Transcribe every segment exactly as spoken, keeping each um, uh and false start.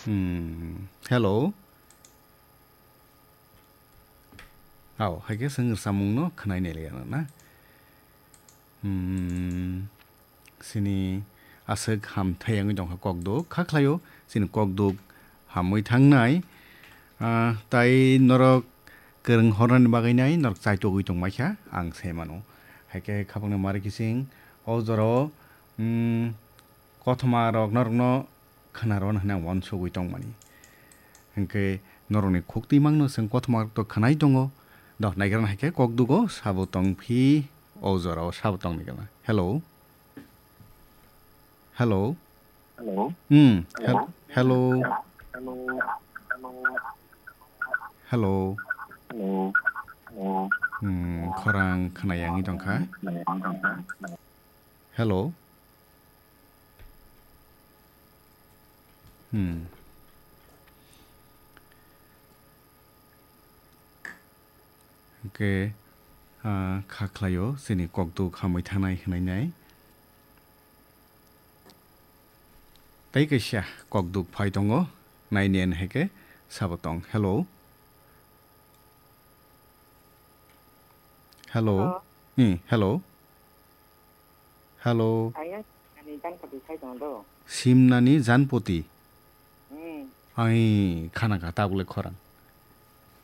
Hmm, hello. Ao, hai khe chwng rwchapmungno khwnai nai liya na? Hmm, chini aswk hamthai wngwi tongkha kokduk. Kha khlaio, chini kokduk hamwi thangnai. Ah, tai norok kwrwng hornani bagwi nai norok chaitogwi tongmai kha, ang sai mano. Hai khe khapangni mari kiching o jorao, hmm, kothoma rok norokno khwnaro hwnwi ang uansugwi tongmani. Hinkhe norokni khuktwi mangno chwng kothoma rok to khwnai tongo. Dok, naigra hai khe kokdugo sabo tongphi o jorao sabo tongni gana. Hello. Hello. Hello. Hmm. Hel-, hello. Hello. Hello. Hmm, khorang khwnayangwi tongkha. Hello. Hmm. Hwnkhe, ah, kha khlaio, chini kokduk hamwi thanai hwnwi nai. Tei kaisa kokduk phai tongo, naini ani hai khe sabo tong. Hello. Hello. Hello. Hmm, hello. Hello. Ayang, ani jang pati sai tong do. Simnani janpoti. Hmm. Ai, khana kha tabuk le khorang.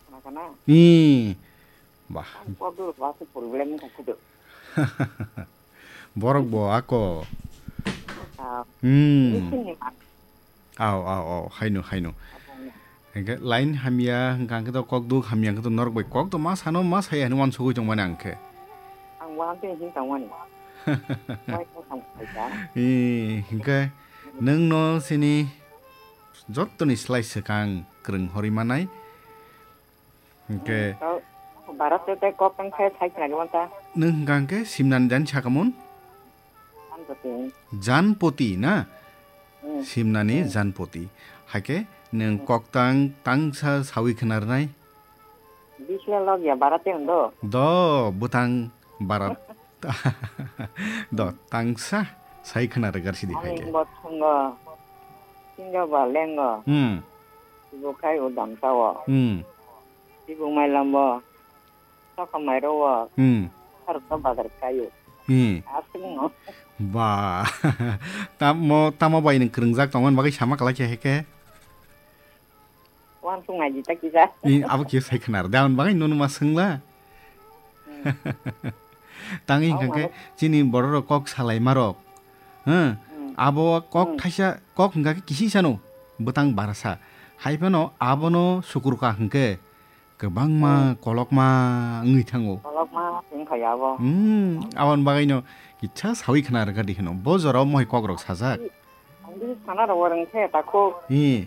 Khana kha na? Ih, bah. Ang kok dulu, aku problem ni kudu. Borok bo ako. Ah. Hmm. Ini sini, Mak. Au, au, au, haino, haino. Apa ni? Hingke line hamya, hingka hingke to kok duk hamya, hingke to norok bai kok to ma sano, ma saya hino wansugui tongmani ang khe. Ang wahan tei hing tongmani. Wai kok ang khaika. Ih, hingke nwng no sini jottoni slai swkang kwrwng horwi manai. Hingke Tau, Bharat te tei kok tang khe sai khna gwan ta. Nwng hingka hingke simnani jan sakamun? Janpoti. Janpoti na? Hmm. Simnani Hmm. Janpoti. Haike nwng Hmm. Koktang tangsa sawi khna rwnai? Bisla log ya Bharat te hwn do? Do, bwtang Bharat. Do, tangsa sai khna rwgar sidi hai khe. Ani bo thwngo, sinjo ba lengo. Hmm. Ibo khai o dam sao. Hmm. Ibo mai lambo, sokha mai ro o. Hmm. Har to bazar kai o. Hmm. Aswk no. Ba. Tamo, tamo bai nwng kwrwngjak tongmani bagwi sama kwlai khe hai khe. Wansuk nai di ta kisa. Ni abo kisa sai khna rw. Daun bagwi nunu ma swngla. Hmm. Tangwi hingka khe chini borok rok kok salai ma rok. Huh? Hmm. Abo kok Hmm. thaisa kok hingka khe kisi sano bwtang barasa. Hai phano abono sukur ka hingke kwbangma Hmm. kolokma wngwi thango. Kolokma wngkha ya abo. Hmm. Aboni bagwi no kisa sawi khna rwkha di hino. Bo jorao mohai kok rok sajak. Ang bini sana rok rwng khe takhuk. Hi.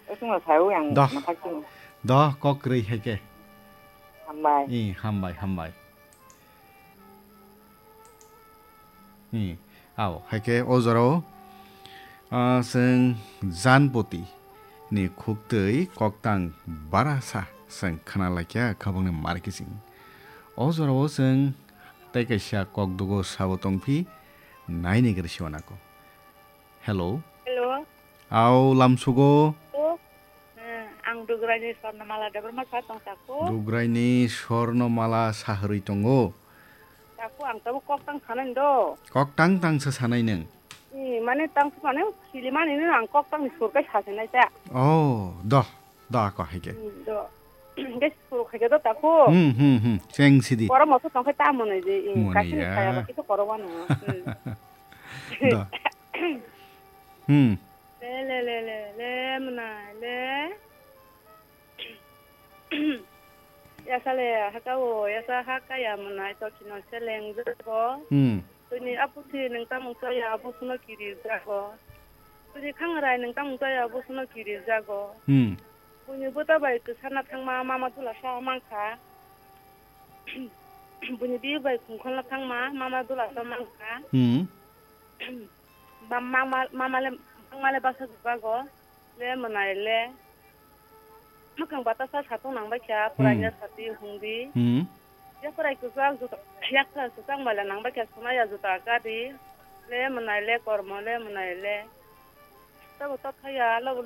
Eswngno sawi ang Doh. Mwthak sini. Doh, kok kwrwi hai khe. Hambai. Hi, hambai, hambai. Hi, ao, hai khe o jorao, ah, chwng Janpoti ni khuktwi koktang barasa chwng khna laikha khabangni mar kiching. O jorao chwng tei kaisa kokdugo sabo tongphi, naini gari siwanako. Hello. Hello. Au, lamsugo. O, eh, ang Dugraini Swarnamala Debbarma sa tong tako. Dugraini Swarnamala saharwi tongo. Tako ang tabo kok tang sanai do. Kok tang tang sa sanai neng. Ni, mane tang sa mane, sili mani no ang kok tang ni sur kai sa sanai ta. Oh, doh. Da ko hai khe. Hmm, do. Ge suru khai khe do tako. Hmm, hmm, hmm. Cheng sidi. Koro moso tong khe ta mwnwi di. Hmm, mwnwi kasini ya. Khaya ba kisa koro wano. Hmm. Da. Hmm. Le, le, le, le, le, mwnai, le. Yasa le, haka o, yasa haka ya mwnai, to kino seleng jago. Hmm. Tini aputhi nung tamung chaya, apusuno kiri jago. Tini khangarai nung tamung chaya, apusuno kiri jago. Hmm. Buini bwta bai kwsana thangma mama dula sa mankha. Buini biyu bai khungkholna thangma mama dula sa mankha. Hmm. Ba mama, mama le, mama le basa jago. Le mwnai le. Mwkhang batasa satung nang bai kha, hmm, puraina sati hungdi. Hmm. Yakrai kwchak juta, yakrai kwchak maila nang bai kha, swnaya juta gadi. Le mwnai le, kormo le mwnai le. Tabo tokthaya, lobo